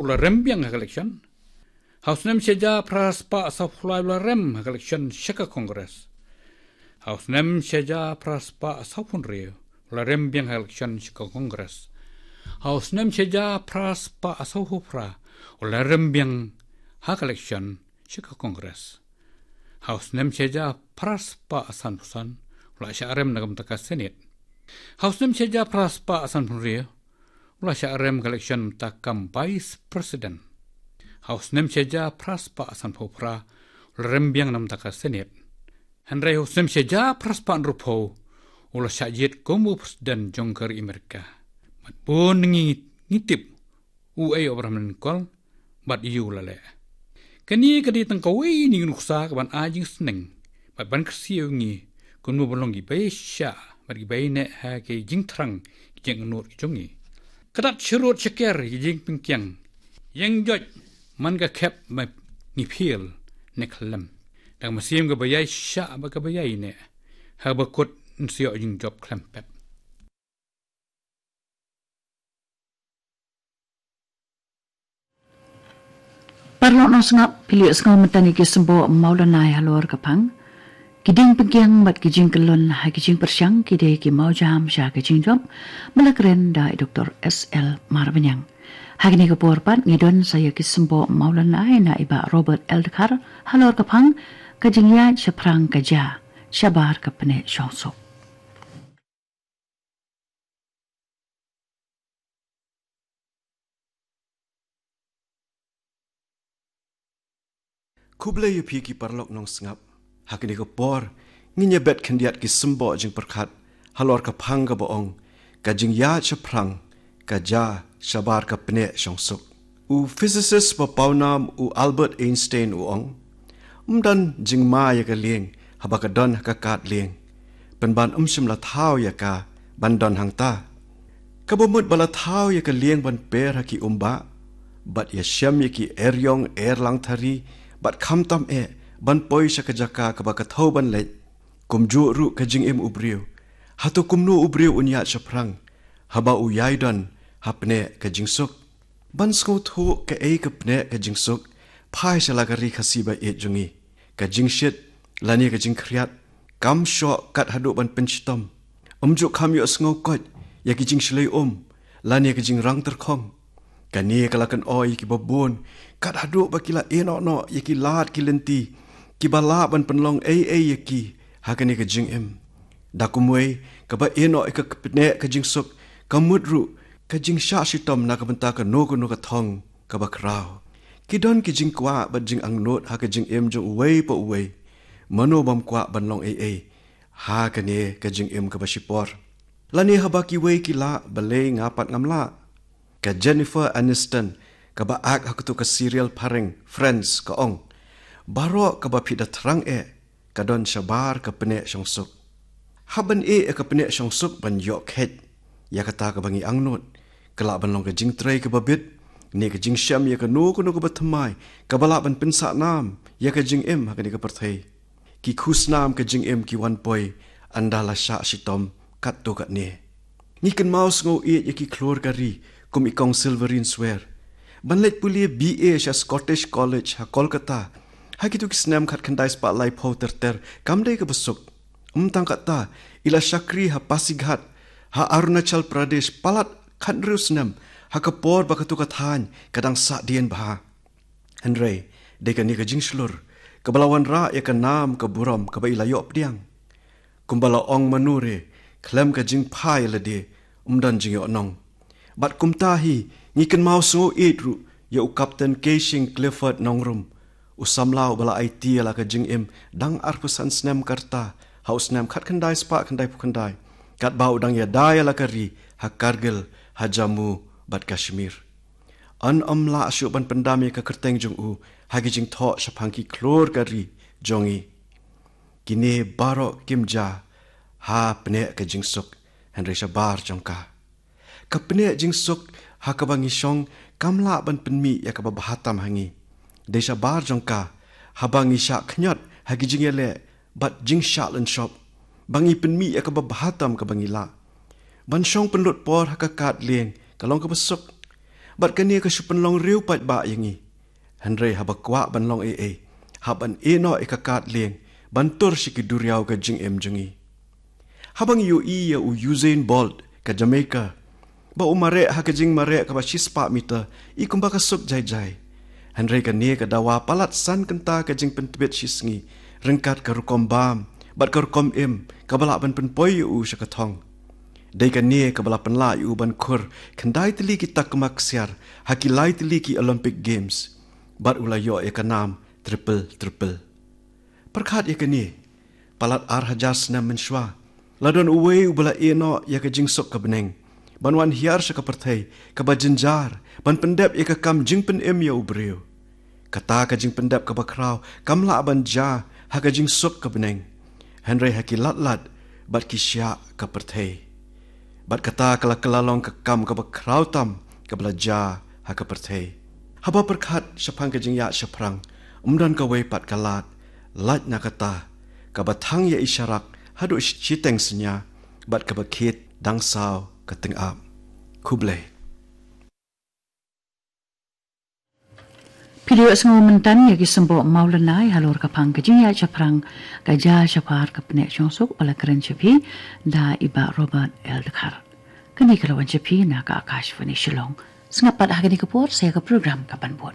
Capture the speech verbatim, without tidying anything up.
u la rem biang ha ka election. Ha u snem shi hajar phra spah sawphew lai u la rem ha ka election sha ka Congress. Ha u snem shi hajar phra spah sawphew hynriew u la rem biang ha ka election sha ka Congress. Ha u snem shi hajar phra spah sawphew phra u la rem biang ha ka election sha ka Congress. Ha u snem shi hajar phra spah sanphew san u la shah rem na ka bynta ka Senate. Ha u snem shi hajar phra spah sanphew hynriew u la shah rem ka election mynta kum Vice President. Ha u snem shi hajar phra spah sanphew phra u la rem biang na ka bynta ka Senate. Hynrei ha u snem shi hajar phra spah hynriewphew u la shah jied kum u President jong ka ri Amerika. Bad bun ngi, ngi tip uei u Abraham Lincoln bad aiu u la leh. Kane ka dei tang kawei na ki nuksa kaban ai jingsneng bad ban kyrsiew ïa ngi kumno ban long kiba ïaishah bad kiba ïaineh ha ki jingthrang ki jingangnud ki jong ngi. Ka dat sharud shaker ki jingpynkhiang, ïeng joit man ka khep ba ngi phiel ne khlem. Dang mynsiem kaba ïaishah bad kaba ïaineh, haba kut yn sa ïoh jingjop khlem pep. Paralok nongsngap, phi la ïohsngew mynta ïa ki symboh mawlynnai halor ka phang. Ki jingpynkhiang bad ki jingkyllon ha ki jingpyrshang ki dei ki mawjam sha ka jingjop, ba la kren da i Doktor S L Marbaniang. Ha kane ka por pat ngi don sa ïa ki symboh mawlynnai na i Bah Robert L Dkhar halor ka phang, Ka jingïaid shaphrang ka ja, shabar ka pneh shongsuk. Khublei ïa phi ki paralok nongsngap. Ha kane ka por ngin ïa bet khyndiat ki symboh jingpyrkhat halor ka phang kaba ong, Ka jingïaid shaphrang ka ja, shabar ka pneh shongsuk. U physicist ba pawnam u Albert Einstein u ong, ym don jingma ïa ka lieng haba ka don ha ka kad lieng, pynban ym shym la thaw ïa ka ban don hangta. Kaba mut ba la thaw ïa ka lieng ban per ha ki umbah bad ïashem ïa ki eriong erlang thari bad khamtam eh ban poi sha ka jaka kaba ka thew ban leit. Kumjuh ruh ka jingim u briew. Hato kumno u briew un ïaid shaphrang haba u ïai don ha pneh ka jingsuk? Ban sngewthuh kaei ka pneh ka jingsuk, phai sha la ka ri Khasi ba ïeit jong ngi. Ka jingshit lane ka jingkhriat kam shoh kat haduh ban pynshitom. Ym ju kham ïohsngew koit ïa ki jingshlei um lane ka jingrang tyrkhong. Kane ka la kynoh ïa kiba bun kat haduh ba ki la ïehnoh noh ïa ki lad ki lynti kiba lah ban pynlong ei ei ïa ki ha kane ka jingim. Da kumwei, kaba ïehnoh ïa ka pneh ka jingsuk ka mut ruh ka jingshah shitom na ka bynta kano kano ka thong kaba khraw. Ki don ki jingkwah bad jingangnud ha ka jingim jong uwei pa uwei. Mano bym kwah ban long ei ei ha kane ka jingim kaba shipor? Lane haba kiwei ki lah, balei nga pat ngam lah? Ka Jennifer Aniston, kaba act ha katu ka serial phareng Friends, ka ong, baroh kaba phi da thrang eh ka don shabar ka pneh shongsuk. Hap ban ïeh ïa ka pneh shongsuk ban ïoh kheit ïa kata kaba ngi angnud. Ka lah ban long ka jingtrei kaba bit, ne ka jingshem ïa kano kano kaba thymmai kaba lah ban pynsah nam ïa ka jingim ha kane ka pyrthei. Ki khusnam ka jingim ki wan poi ynda la shah shitom katto katne. Ngi kynmaw sngew ïeit ïa ki khlur ka ri kum i Kong Silverine Swer. Ban leit pule B A sha Scottish College ha Kolkata ha kitu ki snem khatkhyndai spah laiphew ter ter kam dei kaba suk. Ym tang katta, i la shakri ha Pasighat ha Arunachal Pradesh palat khathynriew snem ha ka por ba katu ka thaiñ ka dang sahdien bha. Hynrei dei kane ka jingshlur kaba la wanrah ïa ka nam ka burom kaba i la ïoh pdiang. Kumba la ong, mano re khlem ka jingphai lade ym don jingïohnong. Bad kumta hi ngi kynmaw sngew ïeit ruh ïa u Captain Keishing Clifford Nongrum, u samla uba la aiti ïa la ka jingim dang arphew san snem ka rta ha u snem khatkhyndai spah khyndaiphew khyndai, katba u dang ïada ïa la ka ri ha Kargil, ha Jammu bad Kashmir. Yn ym lah shuh ban pyndam ïa ka kyrteng jong u ha ki jingthoh shaphang ki khlur ka ri jong ngi. Kine baroh kim jia ha pneh ka jingsuk, hynrei shabar jong ka. Ka pneh jingsuk ha kaba ngi shong kam lah ban pynmih ïa kaba bha tam ha ngi. Dei shabar jong ka haba ngi shah khñiot ha ki jingïaleh bad jingshah lynshop, ba ngi pynmih ïa kaba bha tam kaba ngi lah. Ban shong pynlut por ha ka kad lieng ka long kaba suk. Bad kane ka shu pynlong riewpaidbah ïa ngi. Hynrei haba kwah ban long ei ei, hap ban ïehnoh ïa ka kad lieng ban tur sha ki duriaw ka jingim jong ngi. Haba ngi ïohi ïa u Usain Bolt ka Jamaica, ba u mareh ha ka jingmareh kaba shispah meter, i kumba ka suk jai jai. Hynrei kane ka dawa palat san kynta ka jingpyntbit shisngi, ryngkat ka rukom bam bad ka rukom im kaba lah ban pynpoi ïa u sha ka thong. Dei kane kaba la pynlah ïa u ban khur khyndai tylli ki takma ksiar ha ki lai tylli ki Olympic Games, bad u la ïoh ïa ka nam triple triple. Pyrkhat ïa kane, palat ar hajar snem mynshuwa, la don uwei uba la ïehnoh ïa ka jingsuk ka bneng ban wan hiar sha ka pyrthei kaba jynjar ban pyndep ïa ka kam jingpynim ïa u briew. Kata ka jingpyndep kaba khraw kam lah ban jia ha ka jingsuk ka bneng, hynrei ha ki lad lad bad ki shiah ka pyrthei. Bad kata ka la kylla long ka kam kaba khraw tam kaba la jia ha ka pyrthei. Haba pyrkhat shaphang ka jingïaid shaphrang, ym don kawei pat ka lad, lait na kata, kaba thang ïa i sharak haduh shiteng synñia, bad kaba khit dang saw ka tyngab. Khublei. Phi la ïohsngew mynta ïa ki symboh mawlynnai halor ka phang ka jingïaid shaphrang ka jia shaphang ka pynïaid shongsuk, ba la kren sha phi da i Bah Robert L Dkhar. Kane ka la wan sha phi na ka Akashvani Shillong. Sngap pat ha kane ka por sa ïa ka program ka ban bud.